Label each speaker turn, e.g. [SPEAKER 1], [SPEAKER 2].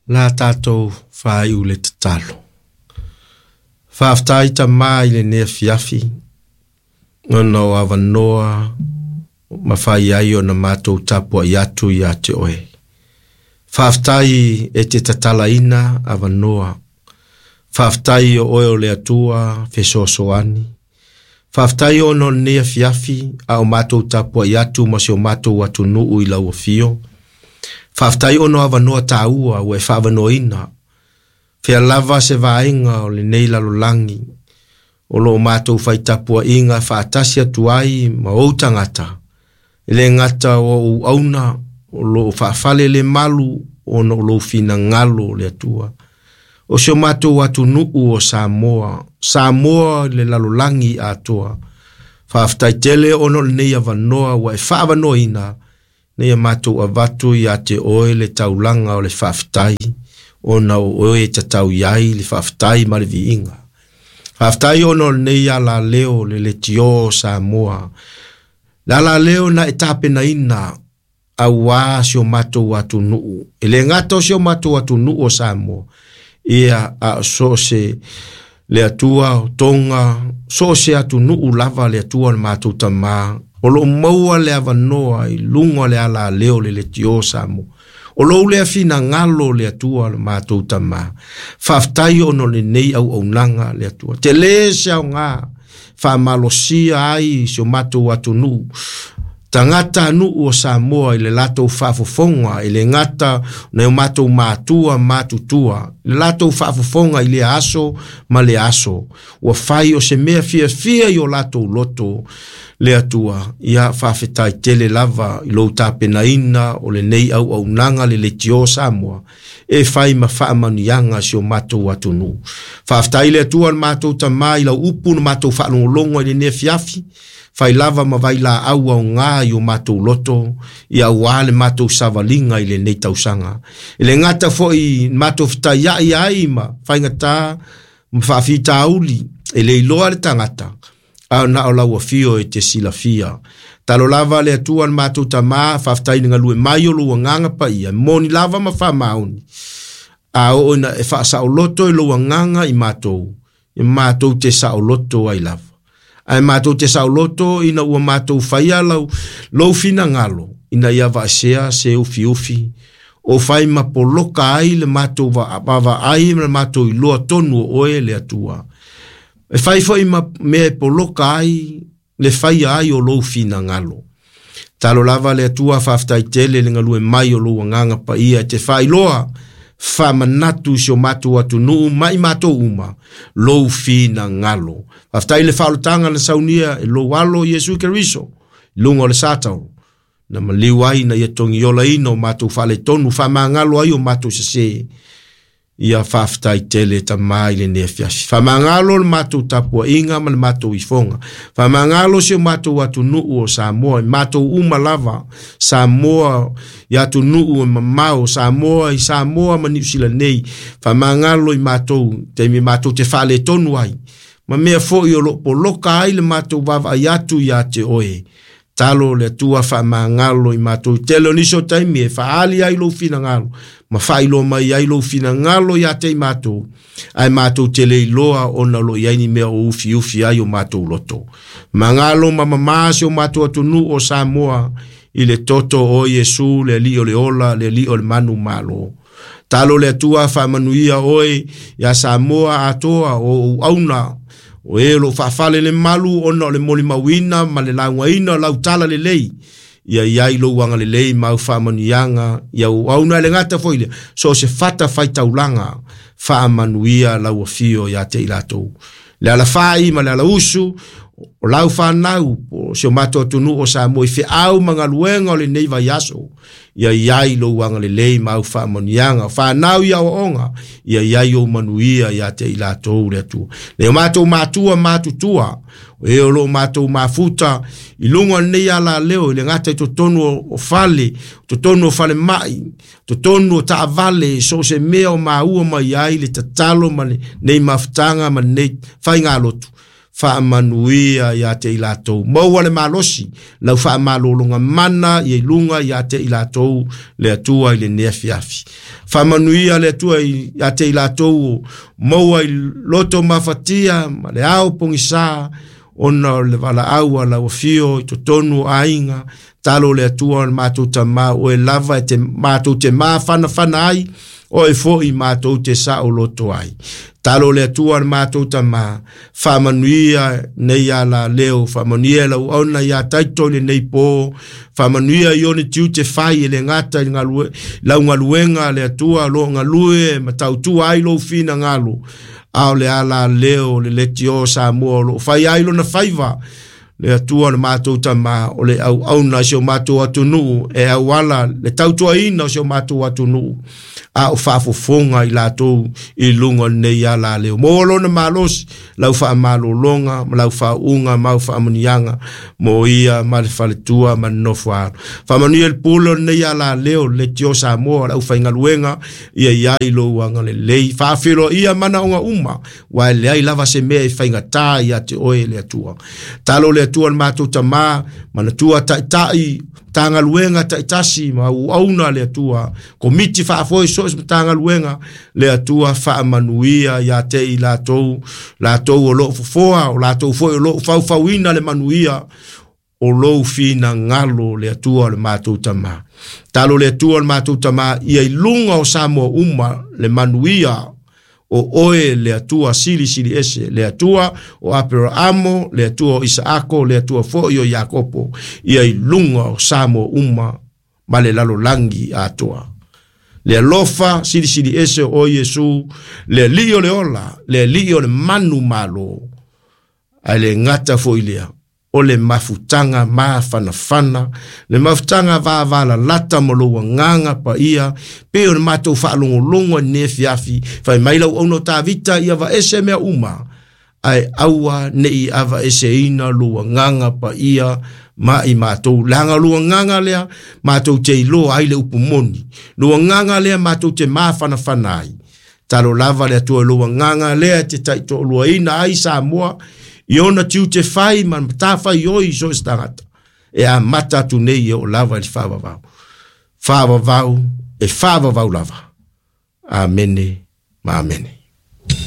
[SPEAKER 1] La tatou faaiu le tatalo. Faafetai Tama i lenei afiafi, ona o avanoa mafai ai ona matou tapuai atu ia te oe. Faafetai e te tatalaina avanoa. Faafetai o oe o le Atua fesoasoani. Faafetai ona o lenei afiafi a o matou tapuai atu ma si o matou atunuu i lau afio. Faafetai ona o avanoa taua ua e faaavanoaina. Fea lava se vaega o lenei lalolagi o lo o matou fai tapuaiga faatasi atu ai ma ou tagata, e le gata o ou auauna o lo o faafale le malu ona o lou finagalo le Atua. O si o matou atunuu o Samoa, Samoa i le lalolagi atoa. Faafetai tele ona o lenei avanoa ua e faaavanoaina, ina ia matou avatu ia te oe le taulaga o le faafetai, ona o oe e tatau i ai le faafetai ma le viiga. Faafetai ona o lenei alaleo le leitio o Samoa, le alaleo na e tapenaina aua si o matou atunuu. E le gata o si o matou atunuu o Samoa, ia a o so o se le Atua o Toga, so o se atunuu lava le Atua o le matou Tama, o lo o maua le avanoa i luga o le alaleo le leitio o Samoa. O lou lea finagalo le Atua o le matou Tama. Faafetai ona o lenei auaunaga le Atua. Tele se aoga faamalosia ai si o matou atunuu, tagata nuu o Samoa i le latou faafofoga, e le gata nai o matou matua matutua, le latou faafofoga i lea aso ma lea aso. Ua fai o se mea fiafia i o latou loto le Atua. Ia faafetai tele lava i lou tapenaina o lenei auaunaga le leitio Samoa, e fai ma faamanuiaga si o matou atunuu. Faafetai le Atua le matou Tama i lau upu na matou faalogologo i lenei afiafi, fai lava ma vailaau aoga i o matou loto, ia aua le matou savaliga i lenei tausaga. E le gata foi matou fetaiai ai ma faigata ma faafitauli, e le iloa le tagata, a na o lau afio e te silafia. Talo lava le Atua le matou Tama, faafetai i le galue mai o lou agaga paia, moni lava ma faamaoni. A oo ina e faasaoloto i lou agaga i matou, e matou te saoloto ai lava. Ae matou te saoloto ina ua matou faia lou finagalo, ina ia vaesea se ufiufi, o fai ma poloka ai le matou vaavaai ma le matou iloa tonu o oe le Atua. E fai foi ma mea e poloka ai le faia ai o lou finagalo. Talo lava le Atua faafetai tele le galue mai o lou agaga paia e te faailoa faamanatu i si o matou atunuu ma i matou uma lou finagalo. Faafetai le faaolataga na saunia e lou alo Iesu Keriso i luga o le Satauro, na maliu ai na ia togiolaina o matou faaletonu, faamagalo ai o matou sese. Ia faafetai tele Tama i lenei afiafi. Faamagalo le matou tapuaiga ma le matou ifoga. Faamagalo si o matou atunuu o Samoa, i matou uma lava, Samoa i atunuu e mamao, Samoa i Samoa ma Niu Sila nei. Faamagalo i matou, taimi matou te faaletonu ai, ma mea foi o lo o poloka ai le matou vaavaai atu ia te oe. Talo le Atua faamagalo i matou. Tele o nisi o taimi e faaali ai lou finagalo, ma faailoa mai ai lou finagalo ia te i matou, ae matou te le iloa ona o lo o i ai ni mea o ufiufi ai o matou loto. Magalo ma mamā si o matou atunuu o Samoa i le toto o Iesu, le Alii o le ola, le Alii o le manu malo. Talo le Atua faamanuia oe ia Samoa atoa o ou auna, o e o lo o faafale le malu ona o le molimauina ma le laugaina o lau tala lelei. Ia iai lou agalelei ma au faamanuiaga, ia ou auna e le gata foi lea, so o se fata faitaulaga, faamanuia lau afio ia te i latou. Le alafai ma le alausu, o lau whanau, o si o matou atunuu o Samoa i feau ma galuega o lenei vaiaso, ia iai lou agalelei ma au faamanuiaga, whanau ia aoaoga, ia iai ou manuia ia te i latou le Atua. Le o matou matua matutua, o e o lo matou mafuta, i luga o lenei alaleo, i le gata i totonu o fale, totonu o fale mai, totonu o taavale, so o se mea o maua mai ai le tatalo ma lenei mafutaga ma lenei faigalotu. Faamanuia ia te i latou. Maua le malosi, lau faamalologa mana ia i luga ia te i latou le Atua i lenei afiafi. Faamanuia le Atua ia te i latou maua i loto mafatia ma le ao pogisa, ona o le valaau a lau afio i totonu o aiga, talo le Atua o le matou tamā, oe lava e te matou te mafanafana ai, oe foi matou te saoloto ai. Talo le Atua o le matou tamā, faamanuia nei ala leo, faamanuia lau auauna ia Taito i lenei pō, faamanuia i ona tiute fai e le gata i lau galuega le Atua o lo o galue ma tautua ai lou finagalo, a o le ala leo o le leitio o Samoa o lo o fai ai lona faiva, le Atua o le matou tamā, o le auauna i si o matou atunuu, e auala le tautuaina o si o matou atunuu, a o faafofoga i latou i luga o lenei ala leo. Maua lona malosi, lau faamalologa ma lau faauuga ma au faamanuiaga mo ia ma le faletua ma le nofo a alo. Faamanuia le pule o lenei ala leo, le leitio Samoa, le aufaigaluega, ia iai lou agalelei. Faafeiloaia manaoga uma, aua e leai lava se mea e faigata ia te oe le Atua. Talo le Atua le matou tamā, manatua taitai, Matagaluega taitasi ma auauna le Atua, komiti faafoe so o se Matagaluega, le Atua faamanuia ia te i latou, latou o lo o fofoa, o latou foi o lo o faufauina le manuia, o lou finagalo le Atua o le matou tamā. Talo le Atua o le matou tamā, ia i luga o Samoa uma le manuia, o oe le Atua silisili ese, le Atua o Aperaamo, le Atua o Isaako, le Atua foi o Iakopo, ia i luga o Samoa uma ma le lalolagi atoa. Le alofa silisili ese o Iesu, le alii o le ola, le alii o le manu malo, ae le gata foi lea, o le mafutaga mafanafana, le mafutaga vavalalata ma lou agaga paia, pe o le matou faalogologo i lenei afiafi, fai mai lau auauna o Tavita ia vaese mea uma, ae aua nei avaeseina lou agaga paia ma i matou. Leaga lou agaga lea, matou te iloa ai le upu moni. Lou agaga lea matou te mafanafana ai. Talo lava le Atua i lou agaga lea e te taitoaluaina ai Samoa, i ona tiute fai ma matafaioi i so o se tagata, e amata atu nei e oo lava i le faavavau. Faavavau e faavavau lava. Amene ma amene.